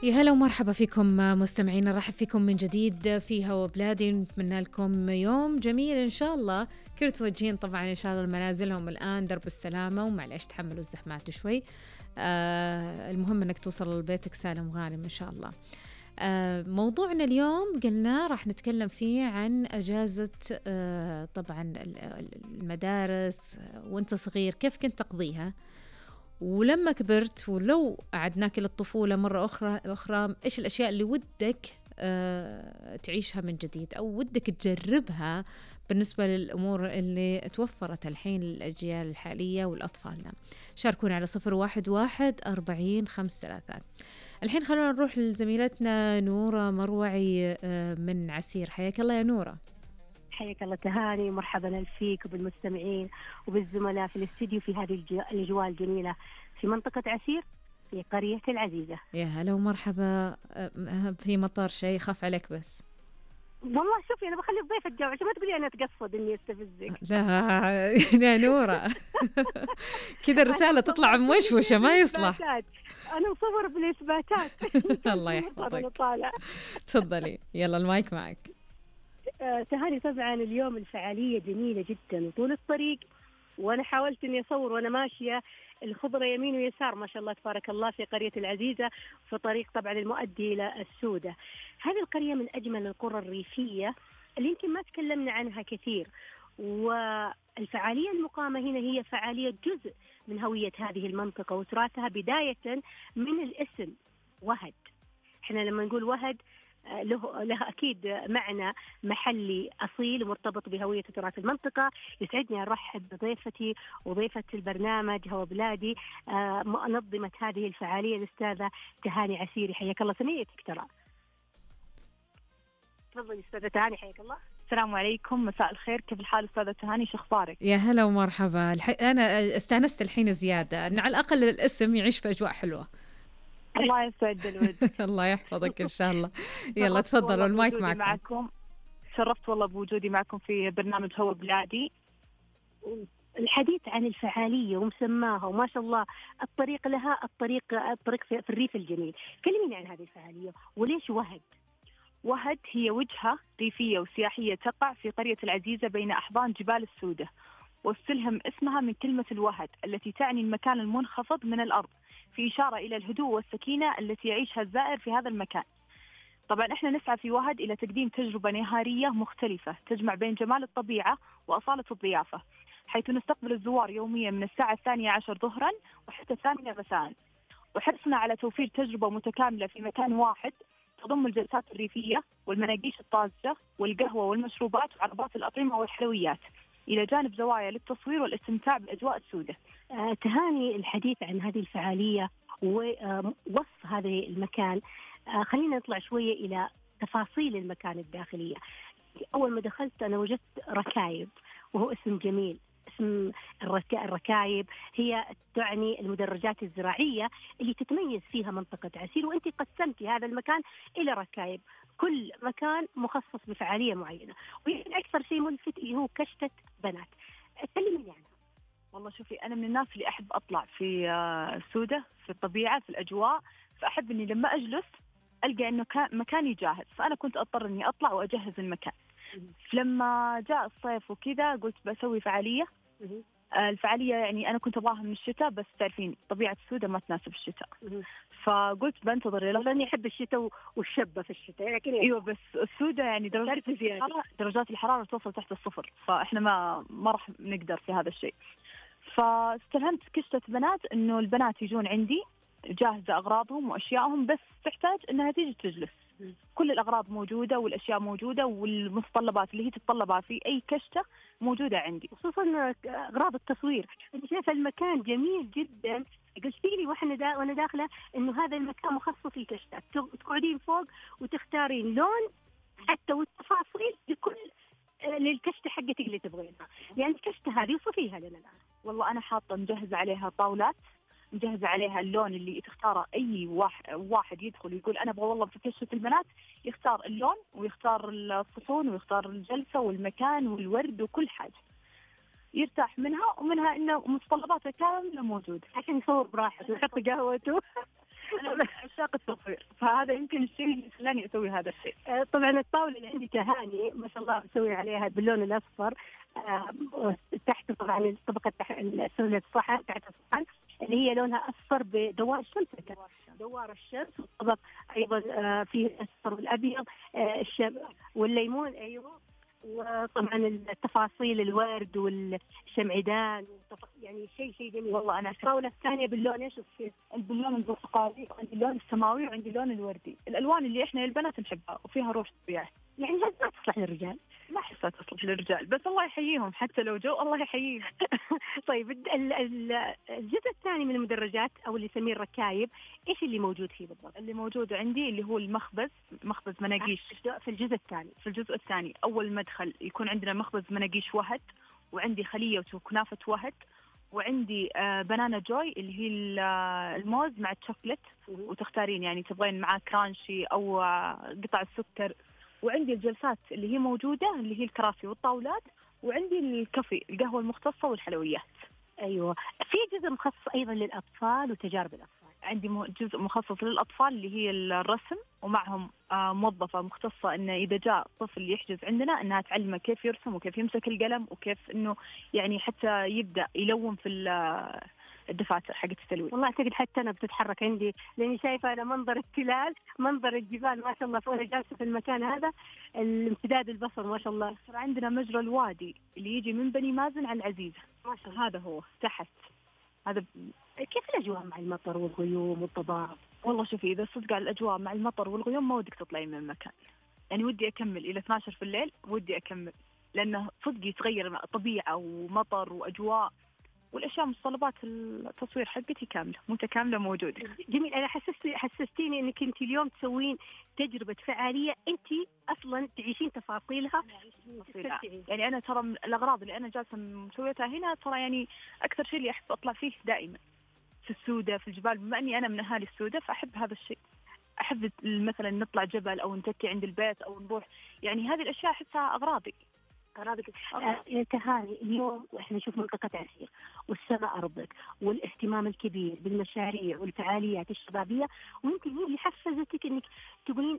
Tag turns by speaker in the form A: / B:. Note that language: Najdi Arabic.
A: يا هلا ومرحبا فيكم مستمعين، نرحب فيكم من جديد في هوا بلادي. نتمنى لكم يوم جميل إن شاء الله. كل توجهين طبعا إن شاء الله المنازلهم الآن درب السلامة، ومعليش تحملوا الزحمات شوي. المهم أنك توصل لبيتك سالم غانم إن شاء الله. موضوعنا اليوم قلنا راح نتكلم فيه عن أجازة طبعا المدارس وانت صغير، كيف كنت تقضيها، ولما كبرت ولو أعدناك للطفولة مرة أخرى إيش الأشياء اللي ودك تعيشها من جديد أو ودك تجربها بالنسبة للأمور اللي توفرت الحين للأجيال الحالية والأطفالنا. شاركونا على 011-40-53. الحين خلونا نروح لزميلتنا نورة مروعي من عسير. حياك الله يا نورة.
B: حياك الله تهاني، مرحبا فيك وبالمستمعين وبالزملاء في الاستديو في هذه الأجواء الجميلة في منطقة عسير في قرية العزيزة.
A: يا هلا ومرحبا. في مطار شيء خاف عليك بس.
B: والله شوفي أنا بخلي الضيف الجو عشان ما تقولي أنا أتقصد إني أستفزك.
A: لا يا نورة كذا الرسالة تطلع موشوشة ما يصلح.
B: أنا مصور بالإثباتات.
A: الله يحفظك. تفضلي يلا المايك معك.
B: تهاني طبعا اليوم الفعالية جميلة جدا وطول الطريق، وأنا حاولت إني أصور وأنا ماشية الخضرة يمين ويسار ما شاء الله تبارك الله في قرية العزيزة في طريق طبعا المؤدي إلى السودة. هذه القرية من أجمل القرى الريفية اللي يمكن ما تكلمنا عنها كثير، والفعالية المقامة هنا هي فعالية جزء من هوية هذه المنطقة وتراثها، بداية من الاسم وهد. إحنا لما نقول وهد له أكيد معنى محلي أصيل ومرتبط بهوية تراث المنطقة. يسعدني أرحب بضيفتي وضيفة البرنامج هوا بلادي منظمة هذه الفعالية الأستاذة تهاني عسيري. حياك الله، سميتك ترى. تفضلي أستاذة تهاني. حياك الله.
C: السلام عليكم، مساء الخير، كيف الحال أستاذة تهاني، شو أخبارك؟
A: يا هلا ومرحبا. أنا استانست الحين زيادة أن على الأقل الاسم يعيش في أجواء حلوة.
C: الله يسعد الود.
A: الله يحفظك إن شاء الله. يلا تفضلوا المايك
C: معكم. شرفت والله بوجودي معكم في برنامج هوا بلادي.
B: الحديث عن الفعالية ومسماها وما شاء الله الطريق لها، الطريق في الريف الجميل. كلميني عن هذه الفعالية وليش وهد؟
C: وهد هي وجهة ريفية وسياحية تقع في قرية العزيزة بين أحضان جبال السودة، واستلهم اسمها من كلمة الوهد التي تعني المكان المنخفض من الأرض، في إشارة إلى الهدوء والسكينة التي يعيشها الزائر في هذا المكان. طبعا إحنا نسعى في وهد إلى تقديم تجربة نهارية مختلفة تجمع بين جمال الطبيعة وأصالة الضيافة، حيث نستقبل الزوار يوميا من الساعة 12 ظهرا وحتى 8 مساء، وحرصنا على توفير تجربة متكاملة في مكان واحد تضم الجلسات الريفية والمناقيش الطازجة والقهوة والمشروبات وعرضات الأطعمة والحلويات، إلى جانب زوايا للتصوير والاستمتاع بأجواء السودة.
B: تهاني الحديث عن هذه الفعالية ووصف هذا المكان، خلينا نطلع شوية إلى تفاصيل المكان الداخلية. أول ما دخلت أنا وجدت ركايب، وهو اسم جميل. اسم الركايب هي تعني المدرجات الزراعية اللي تتميز فيها منطقة عسير، وأنت قسمتي هذا المكان إلى ركايب، كل مكان مخصص بفعالية معينة. ويمكن أكثر شيء ملفت اللي هو كشتة بنات. اتكلمي عنها.
C: والله شوفي، أنا من الناس اللي أحب أطلع في السودة، في الطبيعة، في الأجواء، فأحب إني لما أجلس ألقى إنه مكاني جاهز، فأنا كنت أضطر إني أطلع وأجهز المكان. لما جاء الصيف وكذا قلت بسوي فعالية. الفعالية يعني أنا كنت أبغاها من الشتاء، بس تعرفين طبيعة السودة ما تناسب الشتاء، فقلت بنتظر
B: لأني أحب الشتاء والشبة في الشتاء، لكن
C: أيوة بس السودة يعني درجات الحرارة توصل تحت الصفر، فإحنا ما راح نقدر في هذا الشيء. فاستلهمت كشتة بنات إنه البنات يجون عندي جاهزة أغراضهم وأشيائهم، بس تحتاج إنها تيجي تجلس. كل الأغراض موجودة والأشياء موجودة والمتطلبات اللي هي تتطلبها في أي كشتة موجودة عندي،
B: خصوصا أغراض التصوير. أنت شايفة المكان جميل جدا. قلت لي وأنا داخلة إنه هذا المكان مخصص للكشتات، تقعدين فوق وتختارين لون حتى والتفاصيل لكل للكشتة حقتك اللي تبغينها. يعني الكشتة هذه وصفيها لنا الآن.
C: والله أنا حاطة مجهزة عليها طاولات، مجهزة عليها اللون اللي تختاره أي واحد يدخل يقول أنا أبغى والله في كشة البنات، يختار اللون ويختار الصحون ويختار الجلسة والمكان والورد وكل حاجة يرتاح منها، ومنها إنه متطلباتها كاملة موجودة
B: عشان يصور براحته ويحط قهوته.
C: أنا طاقة تصوير، فهذا يمكن الشيء اللي خلاني أسوي هذا الشيء.
B: طبعا الطاولة اللي عندي تهاني ما شاء الله مسوي عليها باللون الأصفر، تحت طبعا طبقة سلة الصحن تحت الصحن اللي هي لونها أصفر بدوار الشمس، دوار الشمس، والطبق أيضا فيه الأصفر والأبيض والليمون. أيوه، وطبعا التفاصيل الورد والشمعدان يعني شيء جميل والله. أنا الطاولة الثانية باللون إيش؟
C: باللون البرتقالي، وعندي اللون السماوي، وعندي اللون الوردي، الألوان اللي إحنا البنات نحبها وفيها روح طبيعي.
B: يعني ما تصلح للرجال؟
C: ما أحسها تصلح للرجال، بس الله يحييهم حتى لو جو الله يحييهم.
B: طيب الجزء الثاني من المدرجات أو اللي يسميه الركايب، إيش اللي موجود فيه بالضبط؟
C: اللي موجود عندي اللي هو مخبز مناقيش.
B: في الجزء الثاني.
C: في الجزء الثاني أول مدخل يكون عندنا مخبز مناقيش وهد، وعندي خلية وكنافة وهد، وعندي بنانا جوي اللي هي الموز مع الشوكلت، وتختارين يعني تبغين معاه كرانشي أو قطع السكر. وعندي الجلسات اللي هي موجودة اللي هي الكراسي والطاولات، وعندي الكافي القهوة المختصة والحلويات.
B: أيوة، في جزء مخصص أيضا للأطفال وتجارب الأطفال.
C: عندي جزء مخصص للأطفال اللي هي الرسم، ومعهم موظفة مختصة إنه إذا جاء طفل يحجز عندنا إنها تعلمه كيف يرسم وكيف يمسك القلم وكيف إنه يعني حتى يبدأ يلون في الدفاتر حقت التلوين.
B: والله أعتقد حتى أنا بتتحرك عندي، لأني شايفة أنا منظر التلال، منظر الجبال ما شاء الله، وأنا جالسة في المكان هذا الامتداد البصر ما شاء الله.
C: عندنا مجرى الوادي اللي يجي من بني مازن على العزيزة ما شاء الله، هذا هو تحت. هذا
B: كيف الأجواء مع المطر والغيوم والضباب؟
C: والله شوفي، إذا صدق على الأجواء مع المطر والغيوم ما ودك تطلعي من المكان، يعني ودي أكمل إلى 12 في الليل، ودي أكمل، لأنه صدق يتغير طبيعة ومطر وأجواء، والأشياء متطلبات التصوير حقتي كاملة متكاملة موجودة.
B: جميل. أنا حسستيني أنك أنت اليوم تسوين تجربة فعالية، أنت أصلا تعيشين تفاصيلها.
C: يعني أنا ترى الأغراض اللي أنا جالسة مسويتها هنا ترى يعني أكثر شيء اللي أحب أطلع فيه دائما في السودة في الجبال، بما أني أنا من أهالي السودة فأحب هذا الشيء. أحب مثلا نطلع جبل أو نتكي عند البيت أو نروح، يعني هذه الأشياء أحسها أغراضي.
B: تهاني اليوم احنا نشوف منطقة عسير والسماء أرضك والاهتمام الكبير بالمشاريع والفعاليات الشبابية، ويمكن هي اللي حفزتك انك تقولين